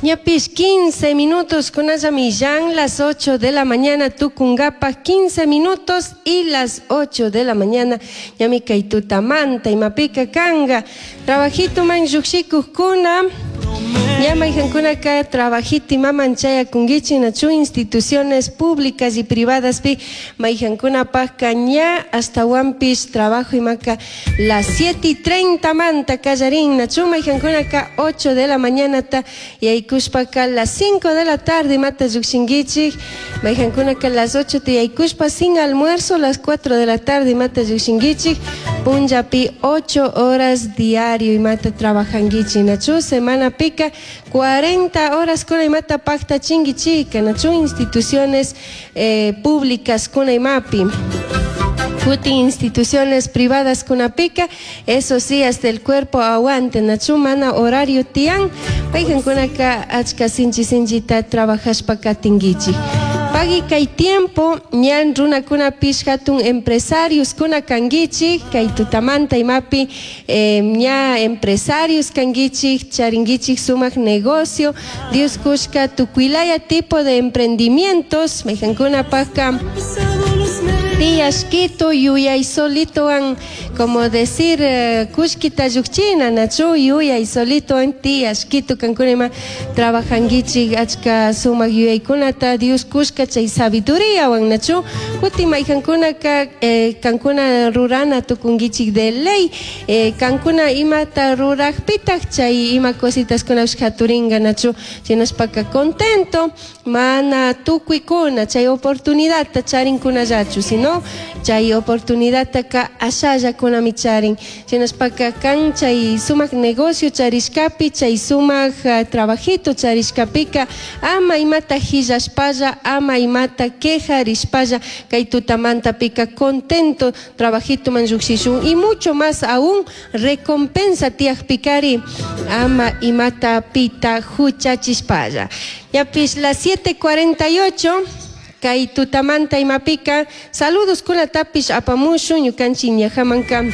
Ñapish 15 minutos kunallami las 8 de la mañana tucungapa 15 minutos y las 8 de la mañana ñami kay tutamanta imapika kanga trabajito man lluqshikuqkuna ña mayqankunaka trabajito imaman chayakunkichik nachu instituciones públicas y privadaspi mayqankunapaqka ña astawanpish trabajo imaka las 7:30 manta kallarin nachu mayqankunaka 8 de la mañanata yaykushpaka las 5 de la tarde imata lluqshinkichik mayqankunaka las 8 ta yaykushpa sin almuerzo las 4 de la tarde imata lluqshinkichik punllapi 8 horas diario imata trabajankichik nachu semanapika 40 horas kuna imata paqtachinkichika nachu instituciones públicas kuna imapi. Kutin instituciones privadas kunapika, eso sí, hasta el cuerpo aguante, nachu mana horario tiyan, mayqankunaka achka sinchi sinchita trabajashpa katinkichik. Pagui kay tiempo ñan runakunapish hatun empresarios kuna kankichik, kay tutamanta imapi ña empresarios kankichik, charinkichik sumak negocio, Dios kushka tukuylaya tipo de emprendimientos, mayqankunapaqka tiyashkitu yuyay solitowan como decir kullkita lluqchina nachu yuyay solitowan tiyashkitu kankuna ima trabajankichik achka sumak yuyaykunata Dios kushka chay sabiduriawan nachu kutin mayqankunaka kankuna rurana tukunkichik de ley kankuna imata ruraqpitaq chay ima cositaskunapish haturinka nachu shinashpaka contento mana tukuykuna chay oportunidadta charinkunallachu sino chay oportunidadtaka ashallakunami charin shinashpaka kan chay sumak negocio charishkapi chay sumak trabajito charishkapika ama imata hillashpalla ama imata quejarishpalla kay tutamantapika contento trabajitoman lluqshishun y mucho más aún recompensa tiyaqpikari ama imata pita huchachishpalla. Ñapish las 7:48 kay tutamanta imapika saludos kunatapish apamushun ñukanchik ñajamanka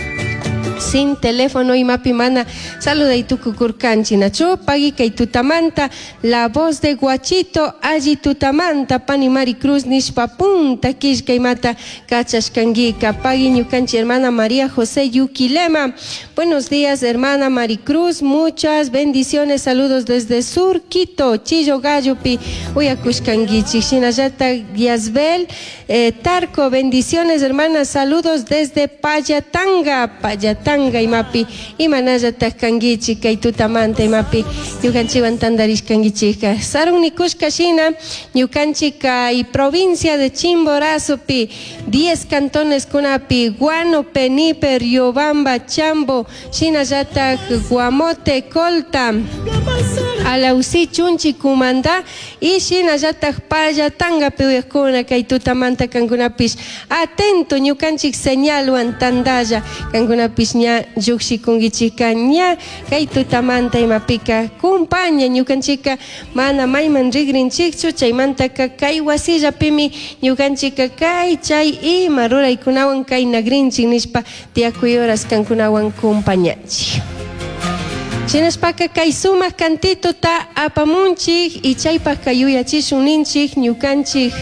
sin teléfono imapi mana saluday tukukurkanchik nachu pagui kay tutamanta la voz de Guachito alli tutamanta pani Mari Cruz nishpa punta killka imata kachashkankika pagui ñukanchik hermana María José Yuquilema. Buenos días, hermana Maricruz, muchas bendiciones, saludos desde Sur Quito, Chillo Gallopi uyakushkankichik shinallatak Yasbel Tarco, bendiciones, hermana, saludos desde Payatanga, Payatanga imapi imanallatak kankichik kay tutamanta imapi ñukanchikwan tantarishkankichikka sarun nikushka shina ñukanchik kay provincia de Chimborazopi 10 cantones kunapi Guano, Penipe, Riobamba, Chambo, shinallatak Guamote, Colta, Alausí, Chunchi, Cumandá y shinallatak Payatangapi uyakuna kay tutamanta kankunapish atento ñukanchik señalwan tandalla kankunapish ña llukshikunkichika ña kay tutamanta imapika kumpaña ñukanchika mana mayman rigrinchikchu chaymantaka kay wasillapimi ñukanchika kay chay ima ruraykunawan kay nagrinchik nishpa tiyakuy horas kankunawan kumpañanchik. Shinashpaka kay sumak cantitota apamunchik y chaypaqka yuyachishun ninchik ñukanchik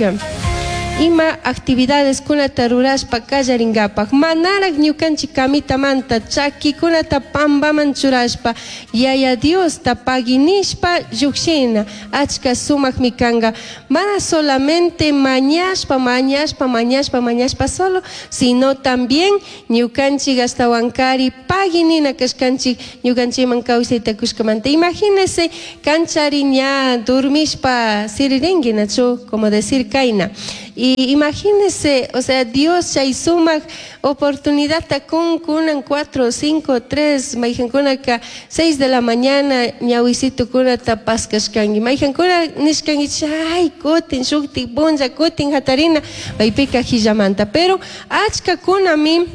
ima actividades kunata rurashpa kallarinkapak manaraq ñukanchik kamitamanta chakikunata pampaman churashpa Yaya Diosta paginishpa llukshina achka sumakmi kanka mana solamente mañashpa mañashpa mañashpa mañashpa solo sino también ñukanchik ashtawankari paginina kashkanchik ñukanchikman kawsayta kushkamanta. Imagínese kanchari ña durmishpa siririnki nachu como decir kayna y imagínese, o sea, Dios chay sumak oportunidadta kun kunan 4, 5, 3 mayqankunaka 6 de la mañana ñawisitukunata paskashkanki mayqankuna nishkanki chay kutin shuktik punlla kutin hatarina paypika hillamanta pero achkakunami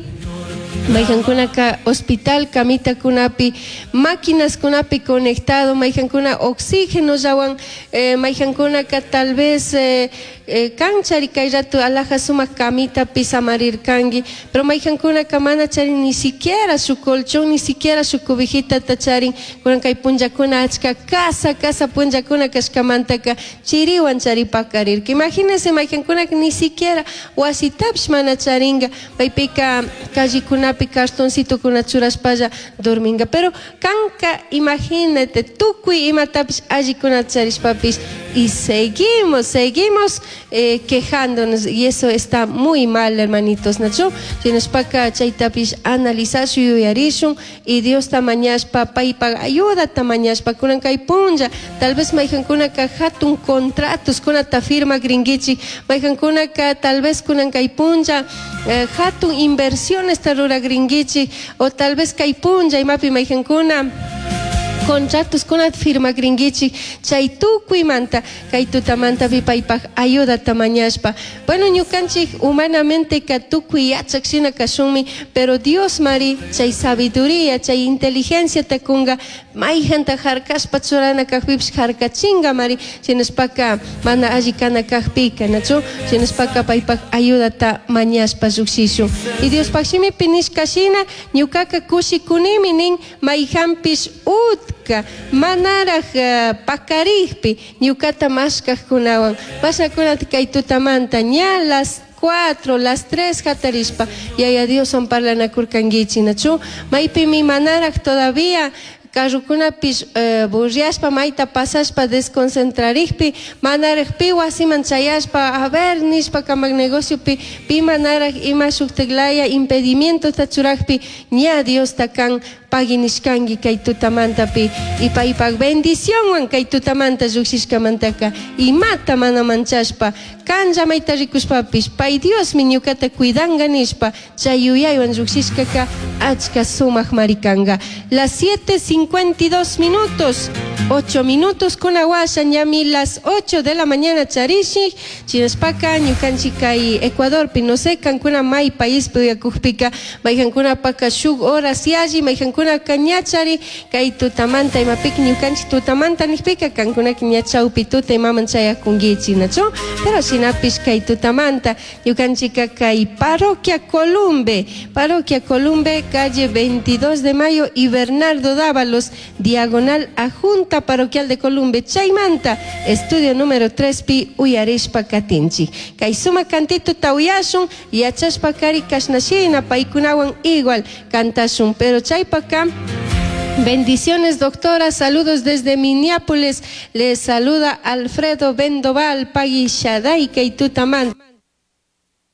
mayqankunaka hospital kamitakunapi máquinaskunapi conectado mayqankuna oxígeno llawan mayqankunaka tal vez. Kanchari kay rato alaja sumak kamitapi samarirkanki, pero mayqankunaka mana charin ni siquiera su colchón, ni siquiera su cobijitata charin. Kunan kay punllakuna achka casa casa punllakuna kashkamantaka chiriwan charipakarirka. Imagínense mayqankunaka ni siquiera wasitapish mana charinga, paypika callekunapi cartoncitokuna churashpalla dorminga. Pero kanka imagínate tukuy imatapish allikunata charishpapish y seguimos quejándonos, y eso está muy mal, hermanitos, nachu? Shinashpaka chaytapish analizashun, yuyarishun, y Diosta mañashpa, paypak ayudata mañashpa, kunan kay punlla, tal vez mayqankunaka hatun contratos kunata firmakrinkichik, mayqankunaka tal vez kunan kay punlla hatun inversiones rurakrinkichik, o tal vez kay punlla imapi mayqankuna contratos kunata firmakrinkichik, chay tukuymanta kay tutamantapi paypak ayudata mañashpa. Bueno, ñukanchik humanamente ka tukuy yachak shina kashunmi, pero Dios mari chay sabiduría, chay inteligencia ta kunga, mayjanta harkashpa churana kajpipish harkachinga mari, shinashpaka mana alli kana kajpika, nachu? Shinashpaka paypak ayudata mañashpa llukshishun. Y Diospaj shimipi nishka shina, ñukaka kushikunimi nin mayjanpish utka manaraj pakarikpi ñukata mashkajkunawan. Mashakunata kay tutamanta ña las 4, las 3 hatarishpa Yaya Dioswan parlanakurkankichik, nachu? Maypimi manaraj todavía carrokunapish burriashpa mayta pasashpa desconcentrarikpi manaraj pi wasiman chayashpa a ver nishpa kamak negociopi pi manaraj ima shuktiklaya impedimentota churakpi ña Diosta kan pagui nishkanki kay tutamantapi y paypak bendicionwan kay tutamanta llukshishkamantaka imata mana manchashpa kanlla mayta rikushpapish pay Diosmi ñukata cuidanga nishpa chay yuyaywan llukshishkaka achka sumak marikanka. Las 7:52 minutos, 8 minutos kunawasha ñami las 8 de la mañana charishik chinashpaka ñukanchik kay Ecuadorpi, no sé kankuna may paispi uyakukpika mayqankunapaka shuk horas yalli mayqankunaka ña chari kay tutamanta imapika ñukanchik tutamanta nikpika kankunaka ña chawpi tuta imaman chayakunkichik, nachu? Pero shinapish kay tutamanta ñukanchika kay Parroquia Columbe, Parroquia Columbe, calle 22 de Mayo y Bernardo Dávalos, diagonal a Junta Parroquial de Columbe, chaymanta, estudio número 3 pi uyarishpa katinchik. Kay sumak cantito tawiyashun, yachashpa kari kashnashina paykunawan igual kantashun, pero chaypaka bendiciones, doctora. Saludos desde Minneapolis. Les saluda Alfredo Bendoval, Pagui Shaday, Keitutaman.